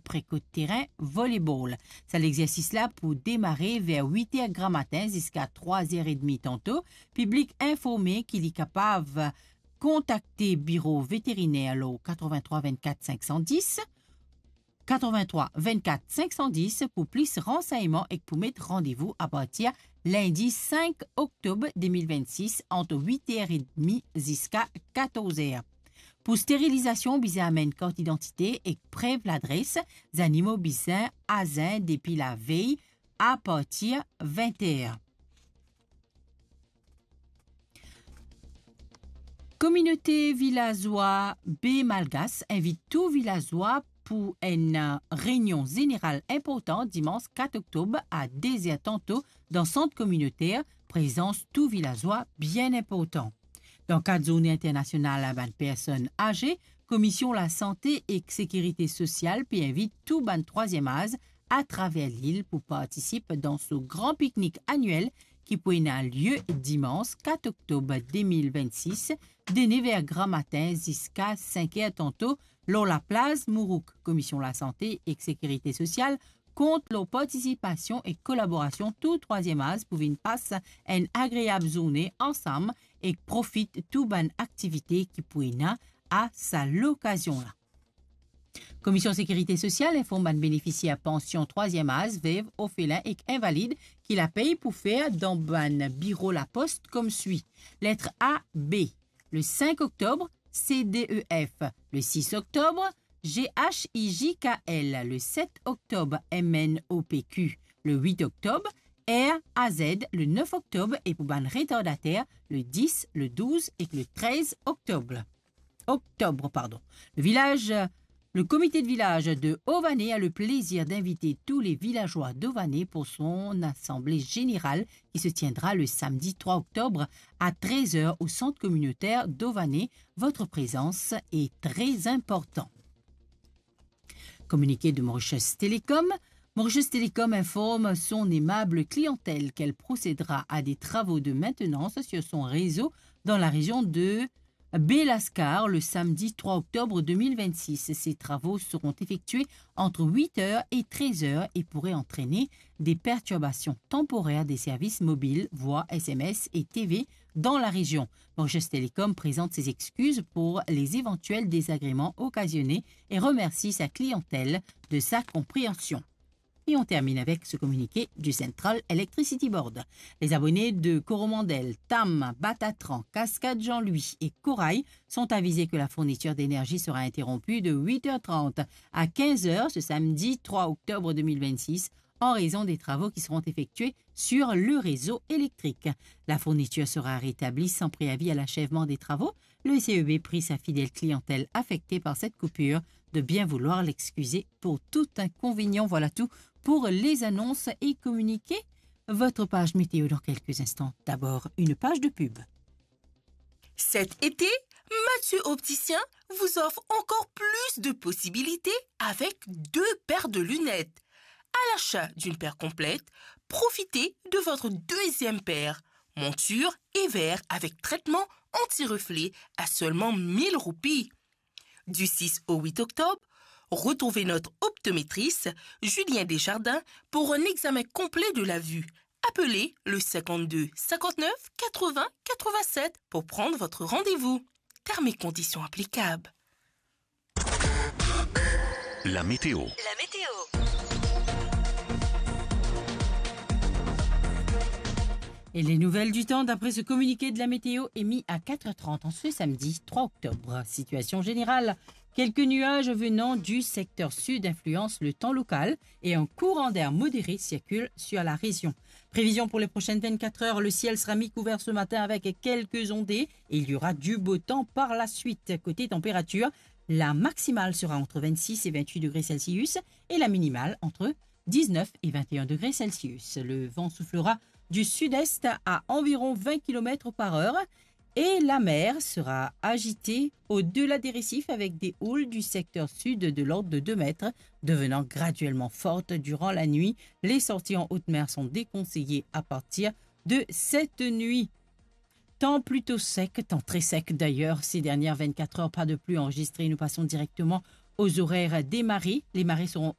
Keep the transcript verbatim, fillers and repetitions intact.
pre kot terin volebol. Sa lexersis la pou demare ver wit er gramatin ziska trwa er edmi tanto. Piblik informe ki li kapav kontakte biro veteriner lor katrevin-trwa vinn-kat sink san dis, katrevin-trwa vinn-kat sink san dis pou plis ransegnman ek pou met randevou apartir lindi sink oktob de mil vinn-sis ant wit er edmi ziska katorz er. Pou sterilizasion, bizin amenn kart idantite ek prev ladres. Zanimo bizin azin depi lavey apartir vin er. Kominote vilazwa Be Malgas invit tou vilazwa pou enn, eh, reynion zeneral inportan dimans kat oktob a de er tanto dan sant kominoter. Prezans tou vilazwa bien inportan. Dan kad Zourne Internasional a bann Personn Aze, Komisyon Lasante ek Sekirite Sosial pe invit tou bann trwaziem az atraver lil pou partisip dan so gran piknik aniel ki pou ena lie dimans kat oktob de mil vinn-sis, de nev er gramatin ziska sink er tanto, lor laplaz Mourouk. Komisyon Lasante ek Sekirite Sosial kont lor partisipasion ek kolaborasion tou trwaziem az pou vinn pas enn agreab zourne ansam ek profit tou bann aktivite ki pou ena a sa lokazion la. Komisyon Sekirite Sosial inform bann benefisier pansion trwaziem az, vev, orfelin ek invalid ki lapey pou fer dan bann biro Lapost koumswi. Letre A, B, le sink oktob, C D E F, le sis oktob, G H I J K L, le set oktob, M N O P Q, le wit oktob, R A Z, le nef oktob, e pou bann retardater, le dis, le douz ek le trez oktob. Oktob, pardon. Le vilaz, le komite de vilaz de Ované a le plezir d'invite tou le vilazwa d'Ované pou son asanble zeneral ki se tiendra le samdi trwa oktob a trez er o sant kominoter d'Ované. Votre prezans e tre inportan. Communiqué de Mauritius Télécom. Mauritius Télécom informe son aimable clientèle qu'elle procédera à des travaux de maintenance sur son réseau dans la région de Belascar le samedi trois octobre deux mille vingt-six. Ces travaux seront effectués entre huit heures et treize heures et pourraient entraîner des perturbations temporaires des services mobiles, voix, S M S et T V dans la région. Mauritius Télécom présente ses excuses pour les éventuels désagréments occasionnés et remercie sa clientèle de sa compréhension. Et on termine avec ce communiqué du Central Electricity Board. Les abonnés de Coromandel, Tam, Batatran, Cascade Jean-Louis et Corail sont avisés que la fourniture d'énergie sera interrompue de huit heures trente à quinze heures ce samedi trois octobre deux mille vingt-six en raison des travaux qui seront effectués sur le réseau électrique. La fourniture sera rétablie sans préavis à l'achèvement des travaux. Le C E B prie sa fidèle clientèle affectée par cette coupure de bien vouloir l'excuser pour tout inconvénient. Voilà tout pour les annonces et communiqués. Votre page météo dans quelques instants. D'abord, une page de pub. Cet été, Mathieu Opticien vous offre encore plus de possibilités avec deux paires de lunettes. À l'achat d'une paire complète, profitez de votre deuxième paire, monture et verre avec traitement anti-reflet à seulement mille roupies. Du six au huit octobre, retrouvez notre optométriste Julien Desjardins pour un examen complet de la vue. Appelez le cinquante-deux cinquante-neuf quatre-vingts quatre-vingt-sept pour prendre votre rendez-vous. Termes et conditions applicables. La météo. La météo. Et les nouvelles du temps d'après ce communiqué de la météo émis à quatre heures trente en ce samedi trois octobre. Situation générale, quelques nuages venant du secteur sud influencent le temps local et un courant d'air modéré circule sur la région. Prévision pour les prochaines vingt-quatre heures, le ciel sera mi-couvert ce matin avec quelques ondées et il y aura du beau temps par la suite. Côté température, la maximale sera entre vingt-six et vingt-huit degrés Celsius et la minimale entre dix-neuf et vingt et un degrés Celsius. Le vent soufflera du sud-est à environ vingt kilomètres par heure et la mer sera agitée au-delà des récifs avec des houles du secteur sud de l'ordre de deux mètres, devenant graduellement fortes durant la nuit. Les sorties en haute mer sont déconseillées à partir de cette nuit. Temps plutôt sec, temps très sec d'ailleurs, ces dernières vingt-quatre heures, pas de pluie enregistrée. Nous passons directement aux horaires des marées. Les marées seront